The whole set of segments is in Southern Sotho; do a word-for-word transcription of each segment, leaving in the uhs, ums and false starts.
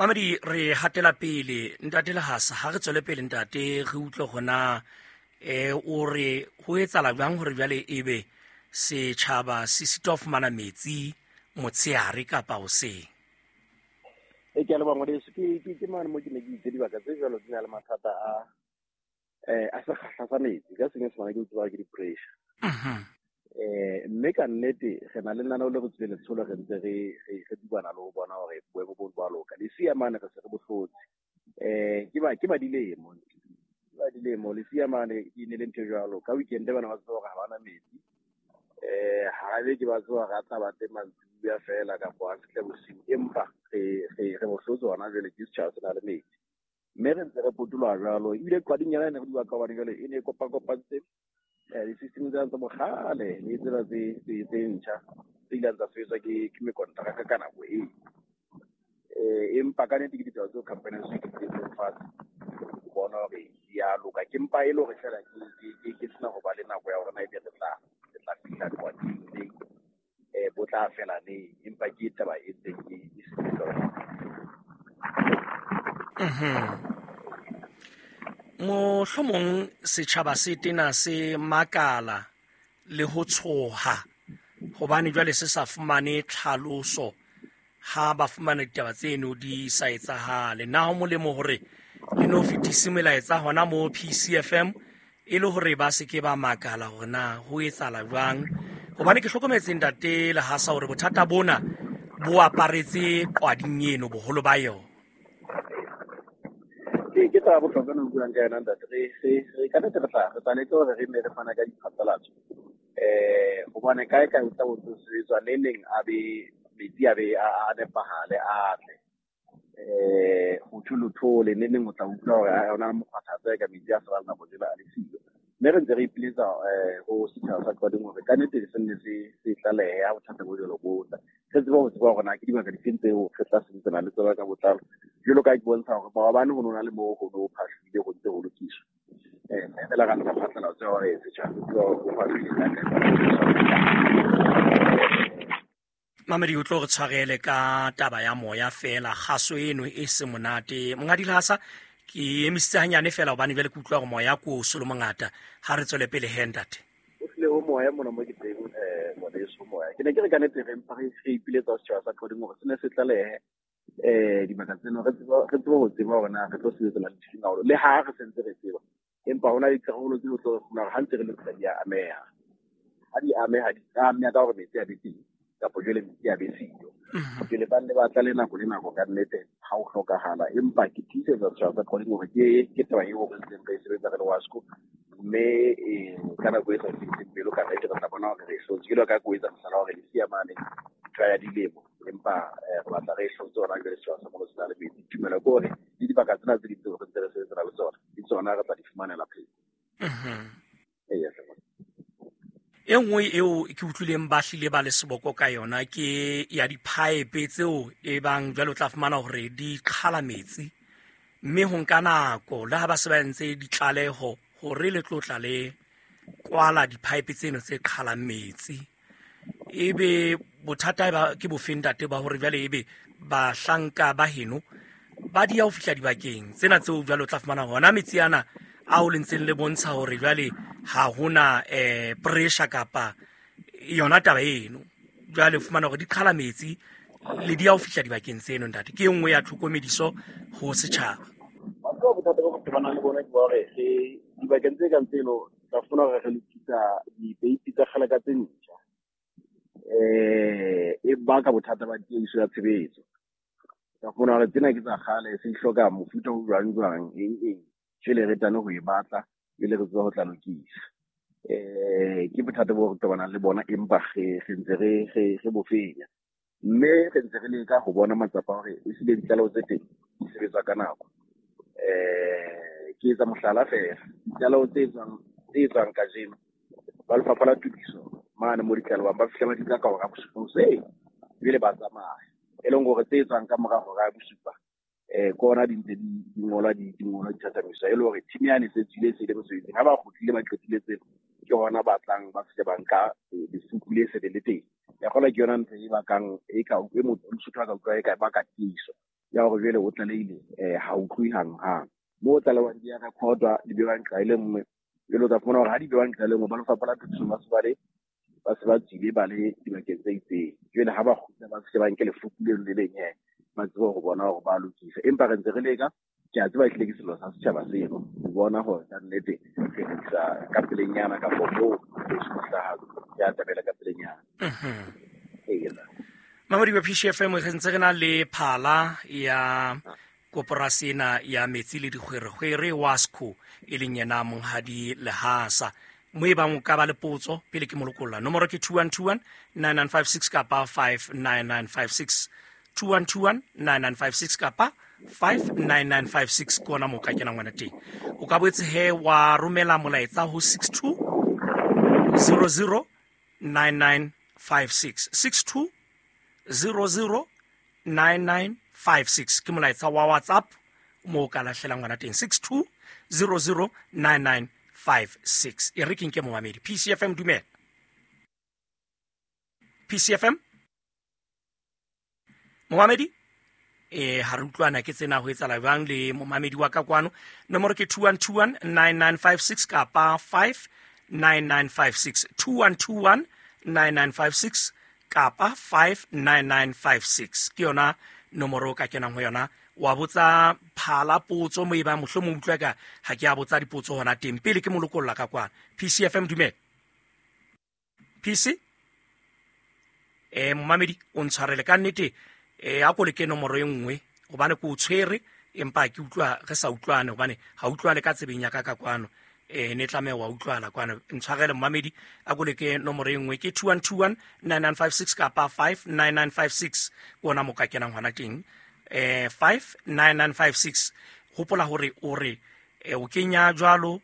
Mamedi, re hatela pele ntate Lehasa, ha re tswele pele ntate, re utlwe hona eh o re ho etsahala jwang hore jwale ebe setjhaba se sitwa ho fumana metsi motshehare kapa hoseng. E ke a leboha ngwaneso. Ke ke ke mane mo ke ne ke itse dibaka tse jwalo di na le mathata a eh a sekgahla sa metsi, ka senyesemane ke tseba ke di-pressure. Mhm. Eh mme ka nnete re na le lenaneo le re tswile letsholo, re ntse re re re dubana le ho bona hore boemo bo bo a loka. Lesia mane re se re bohlotse. Eh ke ba ke ba dilemo. Ke ba dilemo lesia mane e ne le ntho e jwalo. Ka weekend bana ba tseba hore ha bana metsi. Eh ha be ke ba tseba hore a tla ba teng mantsibuya fela kapa a fihle bosiu, empa re re re bohlotse hona jwale ke setjhaba se na le metsi. Mme re ntse re potoloha jwalo. Ebile qwading yona e ne re bua ka hobane jwale e ne e kopakopantse eh di-system tsena tsa bokgale le tsena tse tse tse ntjha tse ileng tsa sebetswa ke ke mekontraka ka nako eo. Eh empa ka nnete ke ditaba tseo company ya di dutseng fatshe ho bona hore di a loka. Ke mpa e le hore feela ke ke ke ke sena ho ba le nako ya hore na ebe re tla re tla fihla qwading neng, eh bo tla fela neng, empa ke taba e teng e e sebetsa. Mhm. Mohlomong setjhaba se tena se makala le ho tshoha hobane jwale se sa fumane tlhaloso ha ba fumana ditaba tseno di sa etsahale. Na ho molemo hore le no fetise melaetsa hona mo P C F M e le hore ba se ke ba makala hore na ho etsahala jwang? Hobane ke hlokometse ntate Lehasa hore bothata bona bo aparetse qwading eno boholo ba yona. Ke ke taba bohlokwa no buang ka yona ntate. Re re re ka nnete re tla re tla leka hore re nne re fana ka diphatlalatso. Eh hobane kae kae o tla bo ntse sebetswa le neng a be metsi a be a a nepahale a tle. Eh ho thole le neng o tla utlwa hore ha hona mokgwathatsa ka metsi a sa nako tsela a le siyo. Mme re ntse re ipiletsa eh ho setjhaba sa Qwading hore ka nnete se nne se se tlalehe ha bothata bo jwalo bo tla. Re tsebe ho tseba hore na ke dibaka difeng tseo re tla sebetsana le tsona ka botlalo. Jwalo ka ke bontsha hore maobane ho nona le moo ho no phahlile ho ntse ho lokiswa. Eh mme fela ka nka phatlalatso ya hore setjhaba se tsebe hore ho phahlile ka kae. Mamedi, o tlo re tshwarele ka taba ya moya fela, kgaso eno e se monate. Monghadi Lehasa, ke emisitse hanyane fela hobane jwale ke utlwa hore moya ko o so le mongata. Ha re tswele pele he ntate. O hlile ho moya mona mo ke teng, eh ngwaneso moya. Ke ne ke re ka nnete re mpa re re ipiletsa setjhaba sa Qwading hore se ne se tlalehe eh dibaka tseno, re tsebe re tsebe ho tseba hore na re tlo sebetsana le difeng haholo. Le ha re sentse re tseba, empa hona le dikarolo tseo tlo re fumana hore ha ntse re lokisa di a ameha. Ha di ameha, di ameha ka hore metsi a be teng kapa jwale metsi a be siyo. Mhm. Jwale ba nne ba tla le nako le nako ka nnete ha ho hlokahala. Empa ke tiisetsa setjhaba sa Qwading hore ke ke taba eo re ntseng re e sebetsa re le WASCO. Mme eh ka nako e sa fediseng pelo ka nnete re tla bona hore re hlotse. Ke ka ko etsa mohlala hore lesia mane ntho ya dilemo, empa eh, re batla re hlotse hona jwale setjhaba sa mono se na le metsi. Tumelo ke hore le dibaka tsena tse ding tseo re ntse re sebetsana le tsona, le tsona re tla di fumanela pheko. Mhm. Eya, hle. E nngwe eo ke utlwileng ba hlile ba le seboko ka yona ke ya di-pipe tseo e bang jwale o tla fumana hore di qhala metsi, mme ho nka nako le ha ba se ba entse ditlaleho hore le tlo tla le kwala di-pipe tseno tse qhalang metsi. Ebe bothata ba ke bofeng ntate ba hore jwale ebe bahlanka ba heno ba di ya ho fihla dibakeng tsena tseo jwale o tla fumana hona metsi ana ao le ntseng le bontsha hore jwale ha hona eh pressure kapa yona taba eno. Jwale o fumana hore di qhala metsi le di ya ho fihla dibakeng tseno ntate. Ke e nngwe ya tlhokomediso ho setjhaba. Batho ba bothata bo re tobanang le bona ke ba hore re dibakeng tse kang tseno tla fumana hore re lokisa dipeipi tsa kgale ka tse ntjha. Eh e baka bothata ba tiehiso ya tshebetso. Tla fumana hore tsena ke tsa kgale, se di hloka mofuta o jwang jwang, eng eng. Jwale re tane ho e batla, jwale re tsebe ho tla lokisa. Eh ke bothata bo re tobanang le bona, empa re re ntse re re re bo fenya. Mme re ntse re leka ho bona matsapa hore ehlile ditlaleho tse teng di sebetswa ka nako. Eh ke etsa mohlala feela, ditlaleho tse etswang tse etswang kajeno ba Lefapha la Tokiso mane mo ditlalehong ba fihla ba di nka ka hora ya bosupa hoseng, ebile ba tsamaya. E leng hore tse etswang ka mora hora ya bosupa eh ke hona di ntse di di ngolwa di di ngolwa di thathamiswa, e le hore team yane e se tswile se ile mosebetsing. Ha ba kgutlile ba qetile tseno, ke hona ba tlang ba fihle ba nka lesupi le se le le teng. Ya kgola ke yona ntho e bakang e ka e motho a ka utlwa e ka baka tiiso. ya hore jwale o tlalehile um ha utlwe hanghang. Moo o tlalehwang di a recordwa, di bewang nqa e le nngwe. Jwale o tla fumana hore ha di bewang nqa e le nngwe, ba lefapha la tokiso ba se ba le ba se ba tswile ba le dibakeng tse itseng. Jwale ha ba kgutla ba se ba nke lefuku leno le leng he, ba tsebe ho bona hore ba lokisa. Empa re ntse re leka, ke a tseba ehlile ke sello sa setjhaba seno ho bona hore ka nnete re lokisa ka pelenyana kapo moo ho hlaha ya atamela ka pelenyana. Ee. Mamedi wa P C F M, re ntse re na le phala ya koporasi ena ya metsi le dikgwerekgwere WASCO, e leng yena Monghadi Lehasa. Mo e bang o ka ba le potso pele ke molokolla. Nomoro ke two one two one nine nine five six kapa five nine nine five six. two one two one nine nine five six kapa five nine nine five six ke ona moo ka kenang ngwana teng. O ka boetse he wa romela molaetsa ho six two zero zero nine nine five six. six two zero zero nine nine five six ke molaetsa wa WhatsApp moo ka lahlelang ngwana teng, six two zero zero nine nine five six. E re ke nke momamedi. P C F M, dumela. P C F M momamedi, eh ha re utlwana ke tsena ho etsahala jwang le momamedi wa ka kwano. Nomoro ke two one two one nine nine five six kapa five nine nine five six. two one two one nine nine five six kapa five nine nine five six ke yona nomoro ka kenang ho yona. Wa botsa phala potso mo e ba mohlomong utlwa ka ha ke a botsa dipotso hona teng pele ke molokolla ka kwana. P C F M, dumela. P C eh momamedi o ntshwarele ka nnete, eh a ko le ke nomoro e nngwe hobane ke o tshwere empa ke utlwa re sa utlwane hobane ha utlwale ka tsebeng ya ka ka kwano. Eh ne tlameha wa utlwala kwano. Ntshwarele momamedi, a ko le ke nomoro e nngwe ke two one two one nine nine five six kapa five nine nine five six ke ona mo ka kenang hona teng. Eh five nine nine five six. Hopola hore o re o kenya jwalo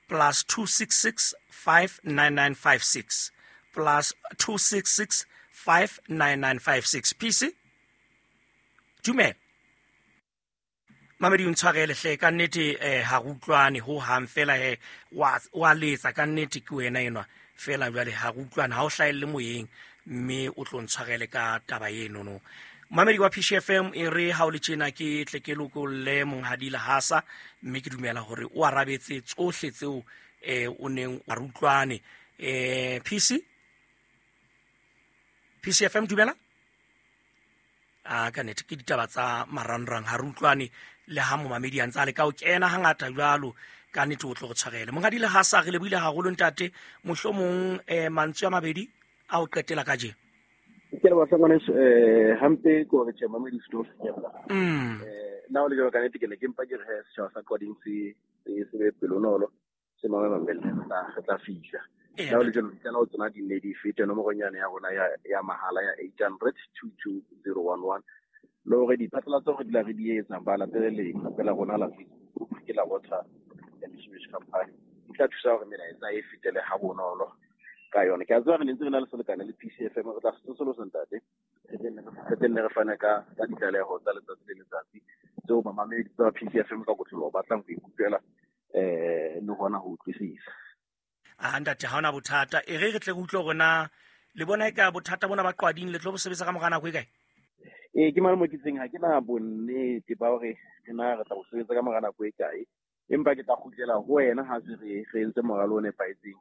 plus two six six five nine nine five six plus two six six five nine nine five six. P C, dumela. Mamedi o ntshwarele hle ka nnete, eh ha re utlwane ho hang fela he wa wa letsa ka nnete ke wena enwa fela jwale ha re utlwane, ha o hlahelle moyeng mme o tlo ntshwarele ka taba eno no. Mamedi wa P C F M, e re ha o le tjena ke tle ke lokolle Monghadi Lehasa mme ke dumela hore o arabetse tsohle tseo eh o neng a re utlwane. Eh P C P C F M, dumela. A ka nnete ke ditaba tsa marangrang, ha re utlwane le ha momamedi a ntse a leka ho kena hangata jwalo, ka nnete o tlo re tshwarele. Monghadi Lehasa, re lebohile haholo ntate. Mohlomong eh mantswe a mabedi a o qetela kajeno. Ke le batla ngwaneso, eh hampe ke hore tjhe mamedi se tlo finyella. Mm. Eh nna o le jwalo ka nnete ke ne ke mpa ke re he setjhaba sa Qwading se se be pelonolo, se mame mamelle, re tla re tla fihla. Ee, Nna o le jwalo ditlaleho tsona di nne di fete nomoronyana ya rona ya ya mahala ya eight hundred two two zero one one. Le hore diphatlalatso re dula re di etsa ba latele leqephe la rona la Facebook ke la Water and Sewage Company. Di tla thusa hore melaetsa e fetele ha bonolo ka yona. Ke a tseba re ne ntse re na le selekane le P C F M, re tla se tsosolosa ntate. Re tenne re fane ka ka ditlaleho tsa letsatsi le letsatsi tseo bamamedi ba P C F M ka kotloloho ba tlang ho ikutlwela eh le hona ho utlwisisa. Ah ntate, ha hona bothata. E re re tle re utlwe hore na le bona e ka bothata bona ba Qwading le tlo bo sebetsa ka mora nako e kae? Ee, ke mane mo ke itseng ha ke na bonnete ba hore re na re tla bo sebetsa ka mora nako e kae, empa ke tla kgutlela ho wena ha se re re entse moralo o nepahetseng.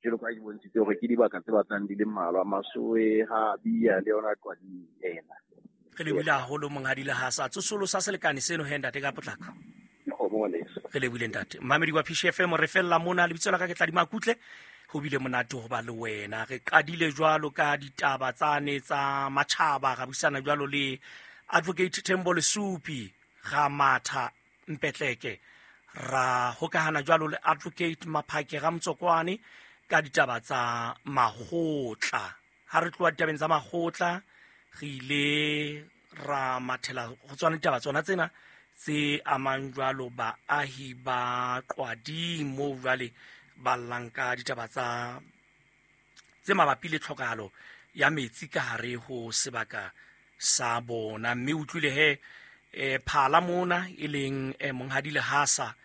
Jwalo ka ha ke bontshitse hore ke dibaka tse batlang di le mmalwa, Masowe, ha Bia le yona Qwading ena. Re lebohile haholo Monghadi Lehasa. Tsosolosa selekane seno he ntate ka potlako. Kgomo ngwaneso. Re lebohile ntate. Mamedi wa P C F M, re fella mona. Lebitso la ka ke Tladi Makutle. Ho bile monate ho ba le wena. Re qadile jwalo ka ditaba tsane tsa matjhaba, ra buisana jwalo le Advocate Thembo Lesupi, ra matha Mpetleke, ra hokahana jwalo le Advocate Maphake Ramtsokwane ka ditaba tsa makgotla. Ha re tloha ditabeng tsa makgotla, re ile ra mathela ho tswana ditaba tsona tsena tse amang jwalo baahi ba Qwading moo jwale ba llang ka ditaba tsa tse mabapi le tlhokahalo ya metsi ka hare ho sebaka sa bona. Mme utlwile he eh phala mona e leng eh, Monghadi Lehasa